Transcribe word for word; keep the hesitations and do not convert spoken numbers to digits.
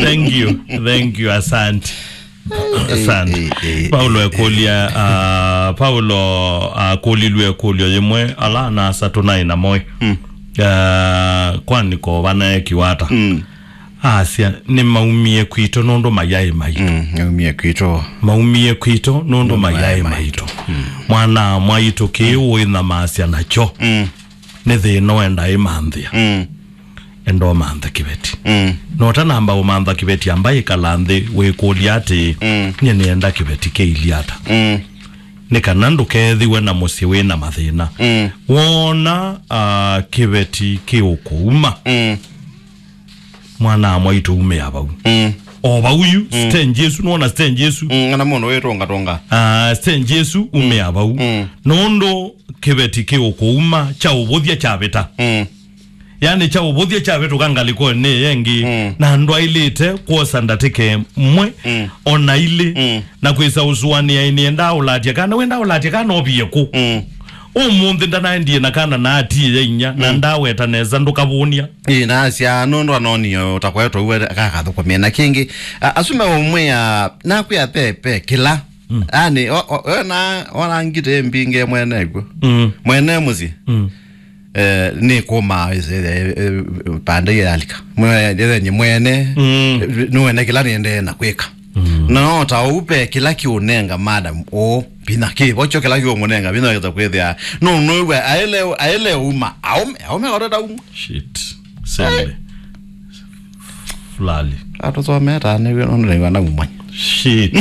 Thank you. Thank you. Asante. Asante. Eh, eh, eh, Paulo eh, eh. Ekũlya, ah, Paulo akũlilw'e ĩkũlyo yĩmwe, ala ana-a-asa tũnaĩ namo ĩ. Mm. Ah, kwanĩ ko vanaekiwa ata? Mm. Asya, nĩmaumie kwitũ nũndũ mayaĩ maitũ. Mm, maumie kwitũ. Maumie kwitũ nũndũ mayaĩ maitũ. Mm. Mwana-a-mwaitũ kĩĩ ũĩnyamasya nakyo. Mm. Nĩ thĩna enda ĩmanthĩa. Mm. Enda ũmanthe kĩveti. Mm. Na ũtanamba ũmantha kĩveti, amba ĩkala nthĩ wĩkũlya atĩĩ, mm, nyie nĩenda kĩveti kĩilyĩ ata? Mm. Nĩ kana ndũkethĩwe na mũsyĩ wĩ na mathĩna. Mm. Wona, ah, kĩveti kĩũkũuma. Mm. Mwana-a-mwaitũ umĩa vau. Mm. O vau yu, mm, stage ĩsu, nĩwona stage ĩsu? Mm, ona mũndũ wĩtũngatũnga. Ah, stage ĩsu umĩa vau. Mm. Nũndũ kĩveti kĩũkũuma kya ũvũthya kyavĩta. Mm. Yaani kya ũvũthya kyavĩtũka ngalĩkonĩ ĩngĩ, mm, na ndwaĩlĩte kwosa ndatĩka ĩmwe, mm, ona ilĩ, mm, na kwĩsa ũsũanĩa nĩenda ũlatya kana, wenda ũlatya kana ovie kũ? Mm. Ũmũnthĩ ndanaendie na kana na atie ya inya, na, mm, ndaweta nesa ndũkavũnia. Ĩĩ, nasya nũndũ anonie ũtakwetwa uwe kakathũkũmĩa na kĩngĩ. A, asu meũmwĩa, nakwĩa pe, pe kĩla. Mm. Ani, o, o, wena, ona ngite mbinge mwene kw'o. Mm. Mwene mũsyĩ. Mm. Eh, nĩ kũma, eh, eh, eh, pande yalika. Mwe, eh, nye mwene, mm, eh, nĩwene kĩla nĩendee na kwĩka. Mm. Na no ta ũu pe kĩla kĩũnenga madam o vinya kĩ, vocho kĩla kĩũmũnenga vinya wĩkĩta kwĩthĩa. No, no, we, aele, aele uma, aume, aume koteta uma. Shit. Sende. Fulali. Atũsometa nĩw'o nũndũ nĩw'o na umanya. Shit.